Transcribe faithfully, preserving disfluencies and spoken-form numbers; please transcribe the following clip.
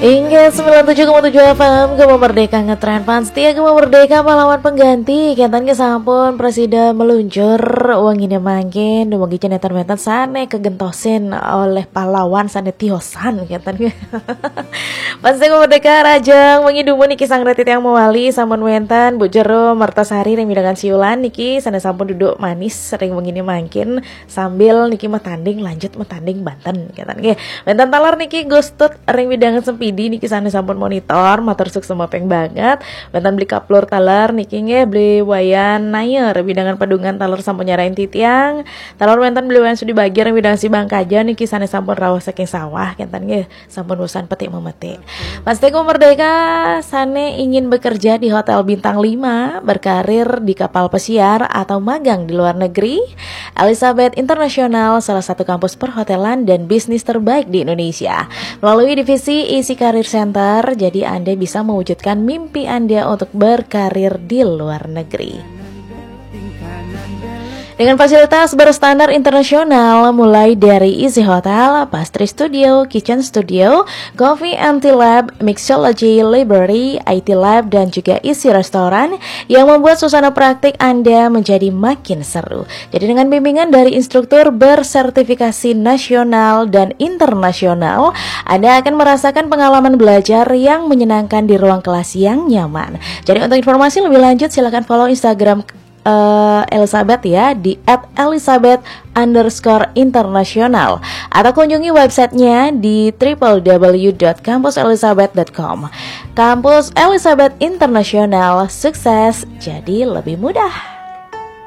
Inggih, sembilan tujuh koma tujuh F M, Gema Merdeka ngetren, fans setia Gema Merdeka, pahlawan pengganti. Kénten nggih sampun prasida meluncur wengine mangkin, dumugi cenah wénten sane kegentosin oleh pahlawan sane tiosan, kénten nggih. Fans setia Gema Merdeka, rahajeng wengi dumun niki sareng titiang mewali, sampun wénten Bu Jero Mertasari ring wewidangan Siulan niki sane sampun duduk manis ring wengine mangkin. Sambil niki matanding, lanjut matanding banten, kénten nggih. Wénten taler niki Gustut ring wewidangan Sempidi niki sane sampun monitor, matur suksma ping banget. Wénten Beli Kaplur taler niki nggih, Beli Wayan Naya ring wewidangan Padungan taler sampun nyarengin titiang. Taler wénten Beli Wayan Sudi Bagi ring wewidangan Sibangkaja niki sane sampun rauh saking sawah, kénten nggih. Sampun bosan petik memetik. Fans setia Gema Merdeka, sane ingin bekerja di hotel bintang lima, berkarir di kapal pesiar, atau magang di luar negeri? Elizabeth International, salah satu kampus perhotelan dan bisnis terbaik di Indonesia. Melalui divisi Easy Career Center, jadi Anda bisa mewujudkan mimpi Anda untuk berkarir di luar negeri. Dengan fasilitas berstandar internasional, mulai dari Easy Hotel, Pastry Studio, Kitchen Studio, Coffee and Tea Lab, Mixology Library, I T Lab, dan juga Easy Restaurant, yang membuat suasana praktik Anda menjadi makin seru. Jadi, dengan bimbingan dari instruktur bersertifikasi nasional dan internasional, Anda akan merasakan pengalaman belajar yang menyenangkan di ruang kelas yang nyaman. Jadi, untuk informasi lebih lanjut, silakan follow Instagram eh, Elizabeth ya, di at elizabeth underscore international, atau kunjungi websitenya di triple w dot kampus elizabeth dot com. Kampus Elizabeth Internasional, sukses jadi lebih mudah.